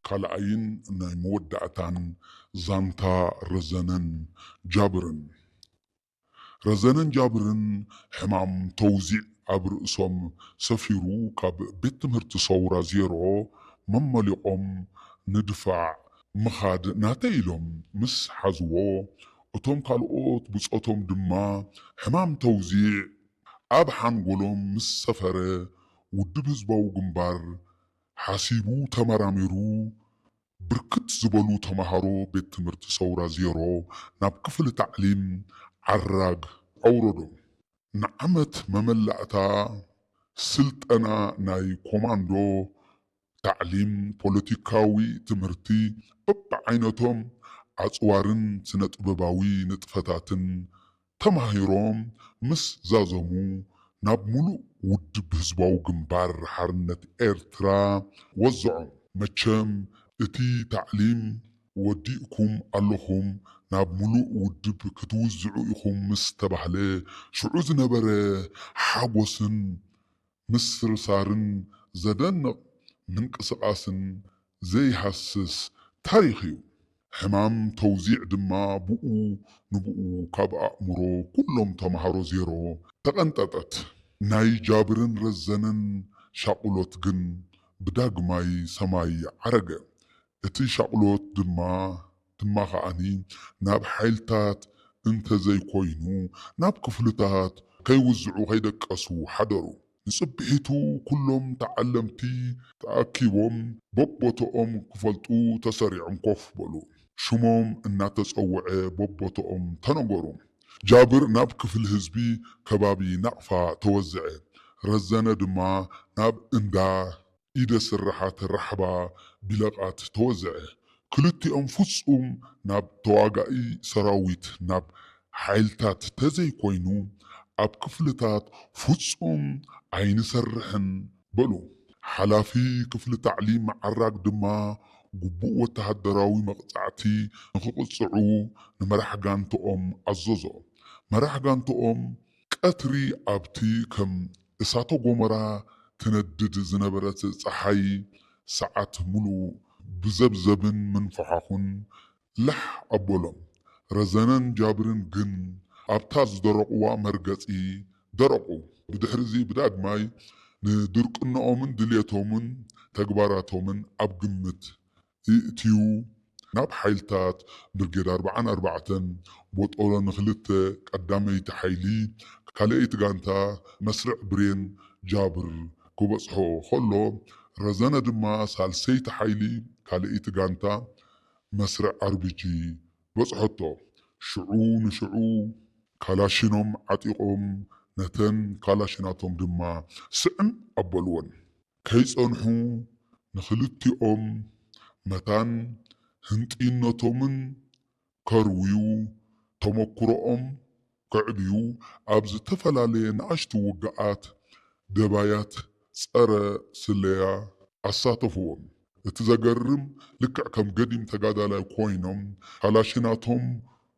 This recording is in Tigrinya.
ካልኣይን ናይ መወዳእታን ዛንታ ረዘነን ጃብርን። ረዘነን ጃብርን ሕማም ተውዚዕ ኣብ ርእሶም ሰፊሩ ካብ ቤት ትምህርቲ ሰውራ ዜሮ መመሊቖም ንድፋዕ ምኻድ ናተይ ኢሎም ምስ ሓዝዎ፣ እቶም ካልኦት ብጾቶም ድማ ሕማም ተውዚዕ ኣብ ሓንጎሎም ምስ ሰፈረ፣ ውድብ ህዝባዊ ግንባር ሓሲቡ ተመራሚሩ፣ ብርክት ዝበሉ ተምሃሮ ቤት ትምህርቲ ሰውራ ዜሮ ናብ ክፍሊ ታዕሊም ዓራግ ኣውረዶም። ንዓመት መመላእታ ስልጠና ናይ ኮማንዶ፣ ታዕሊም፣ ፖለቲካዊ ትምህርቲ በብዓይነቶም፣ ኣጽዋርን ስነ ጥበባዊ ንጥፈታትን ተማሂሮም ምስ ዛዘሙ፣ ናብ ሙሉእ ውድብ ህዝባዊ ግንባር ሓርነት ኤርትራ ወዝዖም። መቸም እቲ ታዕሊም ወዲእኩም ኣለኹም፣ ናብ ሙሉእ ውድብ ክትውዝዑ ኢኹም ምስ ተባህለ፣ ሽዑ ዝነበረ ሓጎስን ምስርሳርን ዘደንቕ ምንቅስቓስን ዘይሃስስ ታሪኽ እዩ። ሕማም ተውዚዕ ድማ ብኡ ንብኡ ካብ ኣእምሮ ኩሎም ተምሃሮ ዜሮ ተቐንጠጠት። ናይ ጃብርን ረዘነን ሻቕሎት ግን ብዳግማይ ሰማይ ዓረገ። እቲ ሻቕሎት ድማ፣ ድማ ከኣኒ ናብ ሓይልታት እንተዘይኮይኑ ናብ ክፍልታት ከይውዝዑ ከይደቀሱ ሓደሩ። ንጽብሒቱ ኩሎም ተዓለምቲ ተኣኪቦም በቦቶኦም ክፈልጡ ተሰሪዖም ኮፍ በሉ። ሽሞም እናተጸውዐ በቦቶኦም ተነገሩ። ጃብር ናብ ክፍሊ ህዝቢ ከባቢ ናቕፋ ተወዝዐ። ረዘነ ድማ ናብ እንዳ ኢደ ስርሓት ራሕባ ቢለቓት ተወዝዐ። ክልቲኦም ፍጹም ናብ ተዋጋኢ ሰራዊት፣ ናብ ሓይልታት ተዘይኮይኑ ኣብ ክፍልታት ፍጹም ኣይንሰርሕን በሉ። ሓላፊ ክፍሊ ታዕሊም ዓራግ ድማ ግቡእ ወተሃደራዊ መቕጻዕቲ ንኽቕጽዑ ንመራሕ ጋንትኦም ኣዘዞ። መራሕ ጋንትኦም ቀትሪ ኣብቲ ከም እሳተ ጎመራ ትነድድ ዝነበረት ጸሓይ ሰዓት ሙሉእ ብዘብዘብን ምንፍሓኹን ላሕ ኣበሎም። ረዘነን ጃብርን ግን ኣብታ ዝደረቑዋ መርገጺ ደረቑ። ብድሕሪዚ ብዳግማይ ንድርቅንኦምን ድልየቶምን ተግባራቶምን ኣብ ግምት ይእትዩ። ናብ ሓይልታት ብርጌድ ኣርብዓን ኣርባዕተን ቦጦሎ ንኽልተ ቀዳመይቲ ሓይሊ ካልኣይቲ ጋንታ መስርዕ ብሬን ጃብር ክበጽሖ ከሎ፣ ረዘነ ድማ ሳልሰይቲ ሓይሊ ካልኣይቲ ጋንታ መስርዕ ኣርቢጂ በጽሖቶ። ሽዑ ንሽዑ ካላሽኖም ዓጢቖም ነተን ካላሽናቶም ድማ ስዕም ኣበልወን። ከይጸንሑ ንኽልቲኦም መታን ህንጥይነቶምን ከርውዩ፣ ተመኩሮኦም ከዕብዩ ኣብ ዝተፈላለየ ንኣሽቱ ውግኣት ደባያት ጸረ ስለያ ኣሳተፍዎም። እቲ ዘገርም፣ ልክዕ ከም ገዲም ተጋዳላይ ኮይኖም ካላሽናቶም